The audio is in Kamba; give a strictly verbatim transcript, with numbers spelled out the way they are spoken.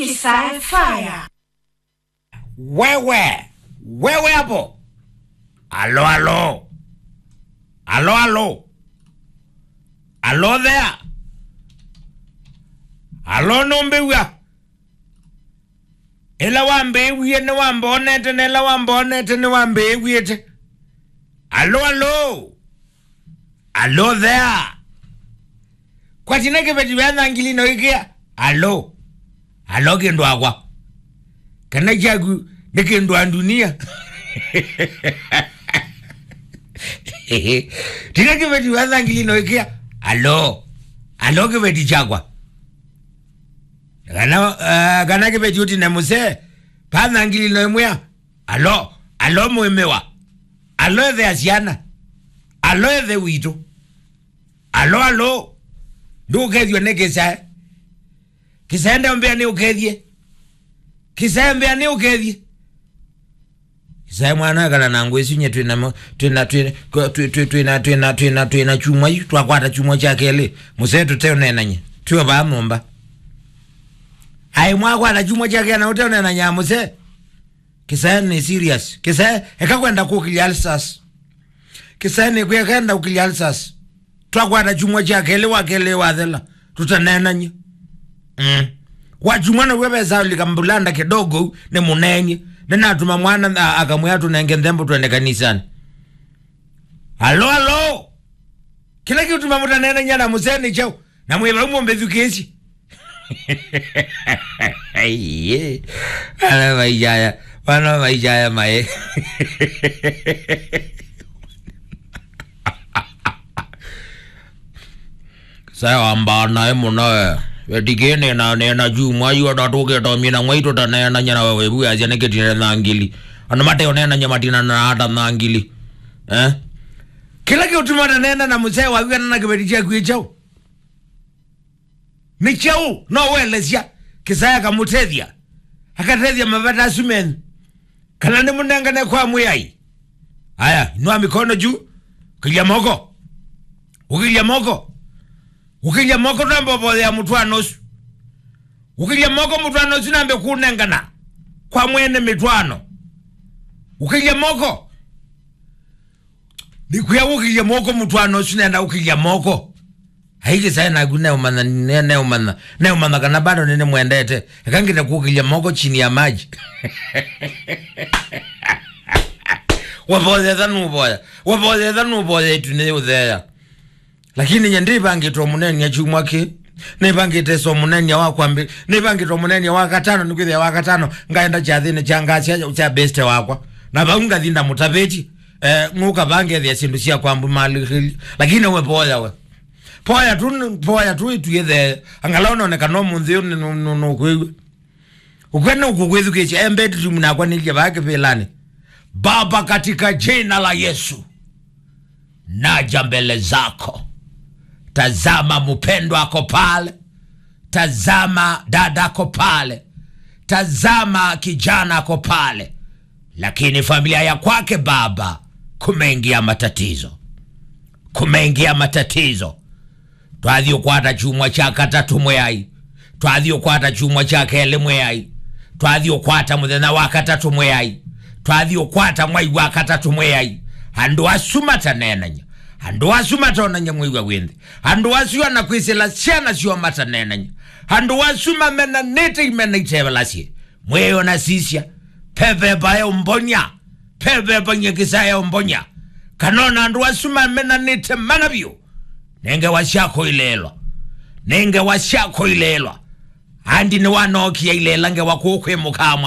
Kisai Fire. Wewe, wewe hapo. Alo, alo. Alo, alo. Alo there. Alo, nũmbĩw'a. Ĩla wambĩĩwie nĩwambonete, na ĩla wambonete nĩwambĩĩw'ĩte. Alo, alo. Alo there. Kwatina kĩveti vya thangili no ĩkĩa. Alo. Alo kĩndũ akwa. Kana kyaku nĩ kĩndũ a ndunia. Tina kĩveti vya thangili no ĩkĩa. Alo. Alo kĩveti kyakwa. Kana, uh, kana kĩveti ũtine mũsee. Pa thangili no ĩmwĩa. Alo, alo mwĩmĩwa. Alo ethe ya syana. Alo ethe witũ. Alo, alo. Ndũkethw'a nĩ kĩsae. Kĩsae ndeũmbĩa nĩ ũkethie. Kĩsae mbĩa nĩ ũkethie. Kĩsae mwana ekala na ngũ isu nye twĩna mo-, twĩna, twĩna, twĩ-, twĩ-, twĩ-, twĩna, twĩna, twĩna, twĩna chumwa yu, twakwata chumwa kya kelĩ. Mũsee tũteũnenany'a. Twĩ vaa nyũmba. Ai mwakwata chumwa kya kelĩ na ũteũnenany'a mũsee. Kĩsae nĩ serious. Kĩsae, eka kwenda kũkĩlya ulcers. Kĩsae nĩ kwenda kũkĩlya ulcers. Twakwata chumwa kya kelĩ wa kelĩ wathela. Tũtaneenany'a. Mm. Wa chumwa naw'o vesa ũlika mbulanda kidogo nĩ mũneenye. Nĩnatũma mwana a-, akamwĩa tũnenge nthembo twende kanisani. Alo, alo. Kĩla kĩũtuma mũtaneenany'a na mũsee nĩ kyaũ? Na mwĩ vau mũmbĩthukĩĩsye. Aiye. Ana maishaya. Wana maishaya mae. Saya wambaa naĩ mũno we. Wetikĩe nĩna, nĩna chumwa yu ata tũkĩtomie na mwaitũ taneenany'a na wewe vu yasya nĩ kĩtine na ngili. Andũ mateoneenany'a matinana na ata na ngili. Eh? Kĩla kĩũtuma tanena na mũsee waku kana na kĩveti kyaku ĩ kyaũ? Nĩ kyaũ? No welesya kĩsae akamũtethya. Akatethya mavata asu menyu. Kana nĩmũnengane kwa mwĩai. Aya, inua mikono juu. Ũkĩlya moko. Ũkĩlya moko. Ũkĩlya moko twambe ũvoyea mũtwaano ũsu. Ũkĩlya moko mũtwaano ũsu nambe kũnengana. Kwa mwene mĩtwaano. Ũkĩlya moko. Nĩkwĩa ũkĩlya moko mũtwaano ũsu nenda ũkĩlya moko. Ai kĩsae naku neũmanya, ne-, neũmanya, neũmanya kana bado nĩnĩmwendete. Eka ngĩte kũkĩlya moko chini ya maji. Wavoyetha nũvoya. Wavoyetha nũvoya ĩtu nĩyũtheea. Lakini nye ndĩvangĩtwe mũnenia chumwa kĩ. Nĩvangĩte so mũnenia wa kwambĩ. Nĩvangĩtwe mũnenia wa katano, nĩkwĩthĩa wa katano. Ngaenda kyathĩnĩ kya ngasya kya beste wakwa. Na vau ngathi ndamũtavĩti. Eh, ngũka vangethĩa syĩndũ sya kwambu mali. Lakini we voya we. Poya tu, poya tu ĩtuĩthe. Angalau noneka no mũnthĩ ũyũ nĩ, nũ-, nũ-, nũkwĩw'a. Ũkwene ũkũkwĩthukĩĩsya, e bedroom nakwa nĩlye vaa kĩvĩlanĩ. Baba, katika jina la Yesu, naja mbele zako. Tazama mpendwa ako pale. Tazama dada ako pale. Tazama kijana ako pale. Lakini familia ya kwake Baba, kumeingia matatizo. Kumeingia matatizo. Twathi ũkwata chumwa kya katatũ mwĩai. Twathi ũkwata chumwa kya kelĩ mwĩai. Twathi ũkwata mũthenya wa katatũ mwĩai. Twathi ũkwata mwai wa katatũ mwĩai. Andũ asu mataneenany'a. Andũ asu matonany'a mwĩw'a wĩ nthĩ. Andũ asu ana kwĩsĩla syana syoo mataneenany'a. Andũ asu mamenanĩte imena itevelasye. Mwĩyo na sisya. Peveva eũmbonya. Peveva nye kĩsae eũmbonya. Kana ona andũ asu mamenanĩte mana vyũ. Nĩ ngewa syako ileelwa. Nĩ ngewa syako ileelwa. Andi nĩwanookie ilela ngewa kũũ kwĩ mũkaa mwana.